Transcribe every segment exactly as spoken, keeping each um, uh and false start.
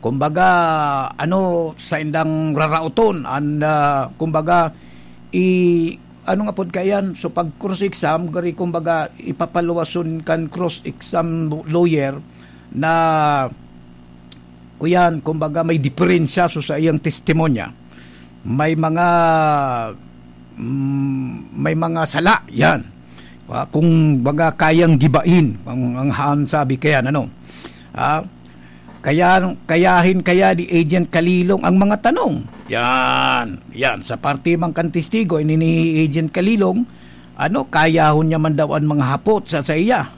kumbaga, ano, saindang raraoton, an, ah, kumbaga, i-, ano nga pod kaiyan? So, pag cross-exam, gari, kumbaga, ipapaluwason kan cross-exam lawyer na, kuyan, kumbaga, may diferensya so sa iyang testimonya. May mga, mm, may mga sala, yan. Ah, kung baga kayang gibain, ang, ang haan sabi kaya, ano? Ah, kaya, kayahin kaya ni Agent Kalilong ang mga tanong. Yan, yan. Sa parte man kan testigo, ini ni Agent Kalilong, ano, kayahon niya man daw ang mga hapot sa, sa iya.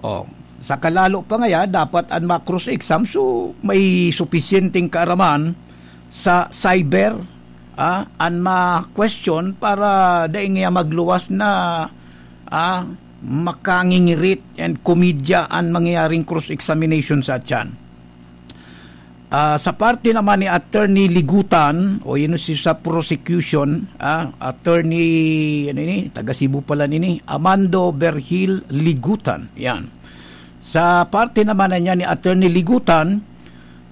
Oh, sa kalalo pa ngaya, dapat an ma-cross-exam, so may supisyenteng kaaraman sa cyber, ah, an ma-question para dai ngaya magluwas na, ah, makangingirit and komedya an mangyayaring cross-examination sa atyan. Ah, sa parte naman ni Attorney Ligutan, o yun si sa prosecution, ah, Attorney, ano ini, taga Cebu pala nini, Amando Berhil Ligutan. Yan. Sa parte naman na niya ni Attorney Ligutan,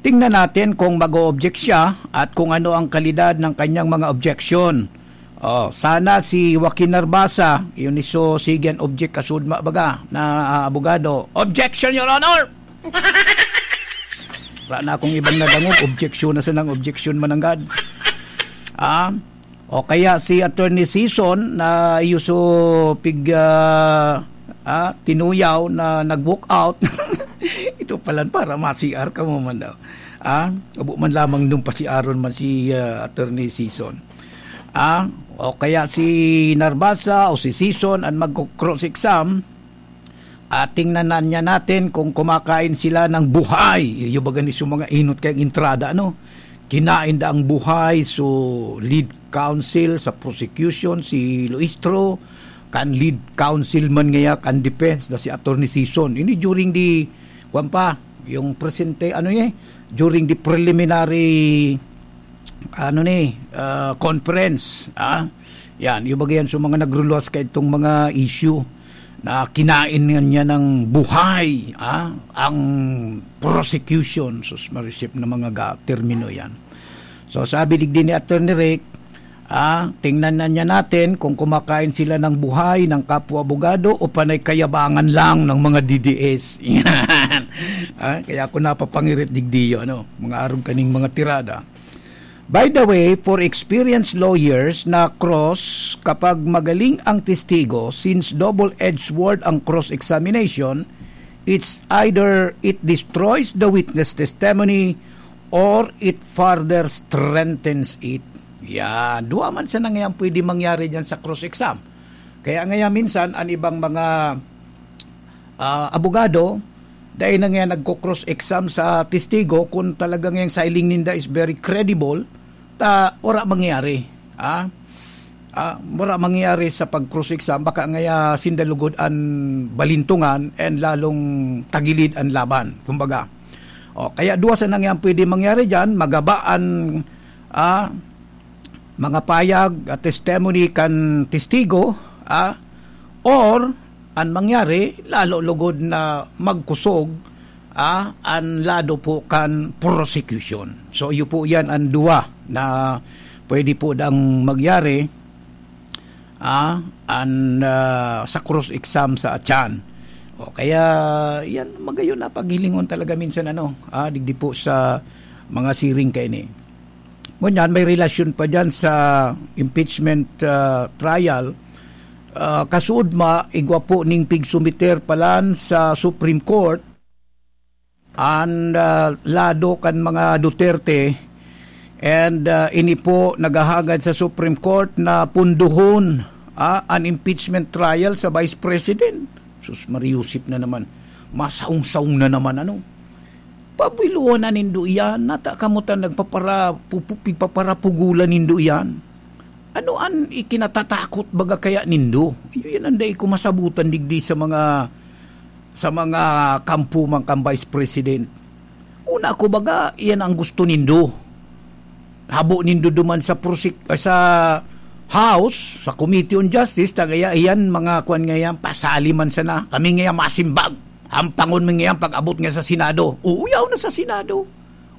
tingnan natin kung mag-o-object siya at kung ano ang kalidad ng kanyang mga objection. Oh, sana si Joaquin Narbasa, yun iso, sige an object kasudma baga na, ah, abogado. Objection, Your Honor! Wala na akong ibang nadangog. Objection na sanang objection mananggad. Ah, o kaya si Attorney Season na yuso pig, ah, ah, tinuyaw na nag-walk out. Ito palan para ma-C R ka mo man daw. Ah, abo man lamang nung pa-C R-on man si, ah, Attorney Season. Ah, o kaya si Narbasa o si Season ang magko-cross-exam. At tingnan na niya natin kung kumakain sila ng buhay. Iyo baga ni sa mga inot kayong entrada, ano? Kinain da ang buhay. So, lead counsel sa prosecution, si Luistro, kan lead counsel man ngaya, kan defense na si Attorney Season. Ini during the, kwan pa, yung presente, ano eh, during the preliminary, ano ni, ah, conference, ah. Yan, yung bagay yan sa mga nagruluwas ka itong mga issue na kinain nga niya ng buhay, ah, ang prosecution. Sus, marisip na mga ga-, termino yan. So, sabi digdi ni Attorney Rick, ah, tingnan na niya natin kung kumakain sila ng buhay ng kapwa abogado o panay kayabangan lang ng mga D D S. Yan. Ah, kaya ako napapangirit digdi yun, ano, mga arog kaning mga tirada. By the way, for experienced lawyers na cross, kapag magaling ang testigo, since double-edged sword ang cross-examination, it's either it destroys the witness testimony or it further strengthens it. Yan. Duwa man sana ngayon pwede mangyari dyan sa cross-exam. Kaya ngayon minsan, ang ibang mga, ah, abogado, dahil na ngayon nagko-cross-exam sa testigo, kung talaga ngayong siling ninda is very credible, ta, wala mangyari. Ah? Ah, wala mangyari sa pag-cross-exam, baka ngaya sinda lugod an balintungan and lalong tagilid an laban, kumbaga. O, kaya duwa sana ngayon pwede mangyari dyan, magaba an, ah, mga payag at testimony kan testigo, ah, or an mangyari, lalo lugod na magkusog, ah, an lado po kan prosecution. So, iyo po yan ang duwa na pwede po dang magyari, ah, an, ah, sa cross-exam sa atyan. O kaya, yan, magayon na paghilingon talaga minsan, ano, ah, digdi po sa mga siring kaini. Ngunyan, may relasyon pa dyan sa impeachment, ah, trial. Ah, kasuodma, igwa po ning pigsumiter palan sa Supreme Court, an, ah, lado kan mga Duterte, and, ah, ini po naghahagad sa Supreme Court na punduhon, ah, an impeachment trial sa Vice President. Sus, Mariusip na naman. Masaong-saong na naman, ano? Pabuiluhan na nindo iyan. Nata kamo ta nagpapara-, pupu-, pigpaparapugulan nindo iyan. Ano an ikinatatakot baga kaya nindo? Iyo yan ang dai ko masabutan digdi sa mga, sa mga kampo man kan Vice President. Una ko baga, iyan ang gusto nindo. Habo nindo duman sa prosec-, sa House, sa Committee on Justice, tagaya iyan, mga kwan nga yan, pasali man sana. Kami nga yan, masimbag. Hampangon mi nga yan pag-abot nga sa Senado. Uuyaw na sa Senado.